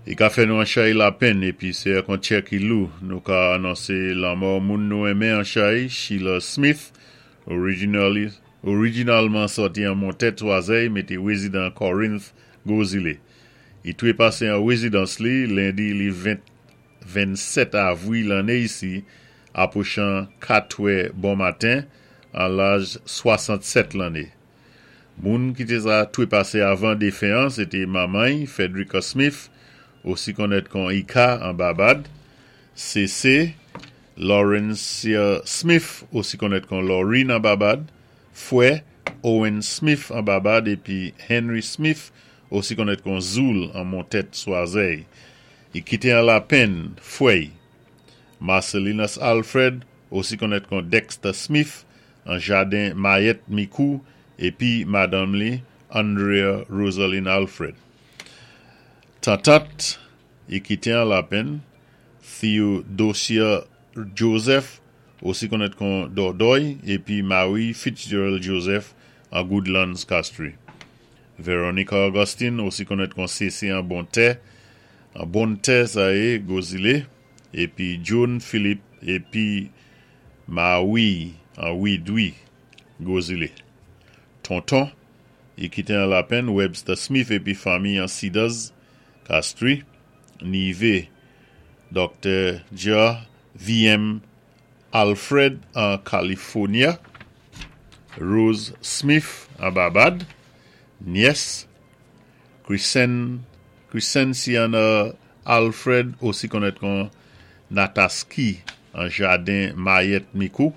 I ka fè nou an chay lapenn épi sé ak an tchè ki lou nou ka anonsé lanmò moun nou renmen an chay, Sheila Smith, originally orijinalman sòti an Montèt Swazèy mé té wézidan Corinth, Gwo Zilé. I twépasé an wézidans li lendi li 20 27 avwi lanné isi apwochan 4 twè bon maten an laj 67 lanné. Moun ki té sa twépasé avan défen an sé té manman-y Frederica Smith, osi konnèt kon Ika an Babad, Sésé Laurencia Smith, osi konnèt kon Laureen an Babad, fwè Owen Smith an Babad épi Henry Smith, osi konnèt kon Zoul an Montèt Swazèy. I kité an lapenn fwè-y Marcelinus Alfred, osi konnèt kon Dexter Smith an Jaden Mayèt Mikou épi madanm li Andrea Rosaline Alfred. Tantant i kité an lapenn Theodosia Joseph, osi konnèt kon Dòdòy, épi Marie Fitzgerald Joseph an Goodlands Castries. Veronica Augustine, osi konnèt kon Sésé an Bontè, an Bontè sa yé Gwo Zilé, épi Joan Philippe épi Marie an Widwi, Gwo Zilé. Tonton, i kité an lapenn Webster Smith épi fanmi an Cedars, Castries, Nivé Dr. Ja V.M. Alfred an California, Rose Smith an Babad, nyès Chrisen Chrisenciana Alfred, osi konnèt kon Nataski an Jaden Mayèt Mikou,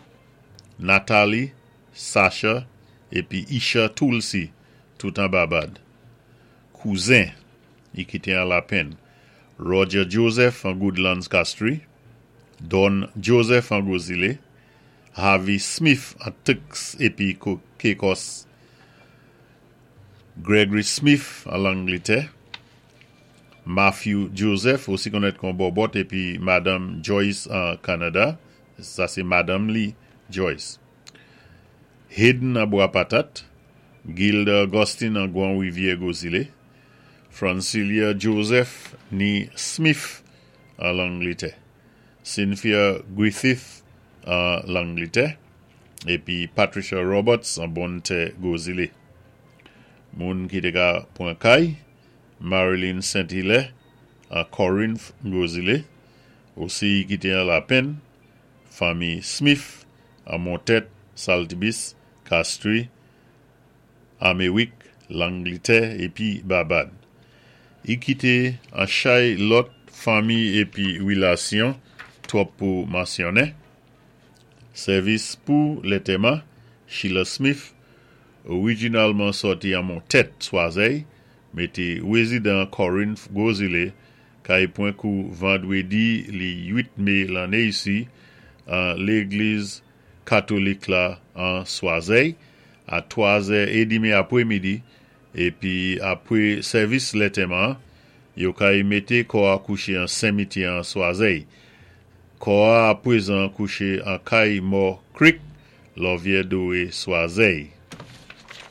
Natalie, Sasha épi Isha Tulsi, tout an Babad. Kouzen, i kité an lapenn Roger Joseph an Goodlands Castries, Don Joseph an Gwo Zilé, Harvey Smith an Turks épi Caicos, Gregory Smith an Langlitè, Matthew Joseph, osi konnèt kon Bòbòt épi madanm Joyce an Kanada, sa sé madanm li Joyce. Hayden an Bwa Patat, Gilda Augustine an Gwan Wivyè Gwo Zilé, Francilia Joseph ni Smith an Langlitè, Cynthia Griffith an Langlitè, épi Patricia Roberts an Bontè Gwo Zilé. Moun ki té ka pwan kay, Marilyn Saint Hilaire an Corinth Gwo Zilé, osi i kité an lapenn, fanmi Smith an Montèt, Saltibis, Castries, Améwik, Langlitè épi Babad. I kité an chay lòt fanmi épi wilasyon twòp pou mansyonnen. Sèvis pou lantèman, Sheila Smith, orijinalman sòti an Montèt, Swazèy, mé té wézidan Corinth, Gwo Zilé, kay pwan kou vandwédi li 8 mé lanné isi an légliz katolik la an Swazèy a 3 zè édmi apwémidi épi apwé sèvis lantèman yo kay mété kò-a kouché an senmityè an Swazèy. Kò-a apwézan kouché an kay Mò Creek, Lòvyè Dowé Swazèy.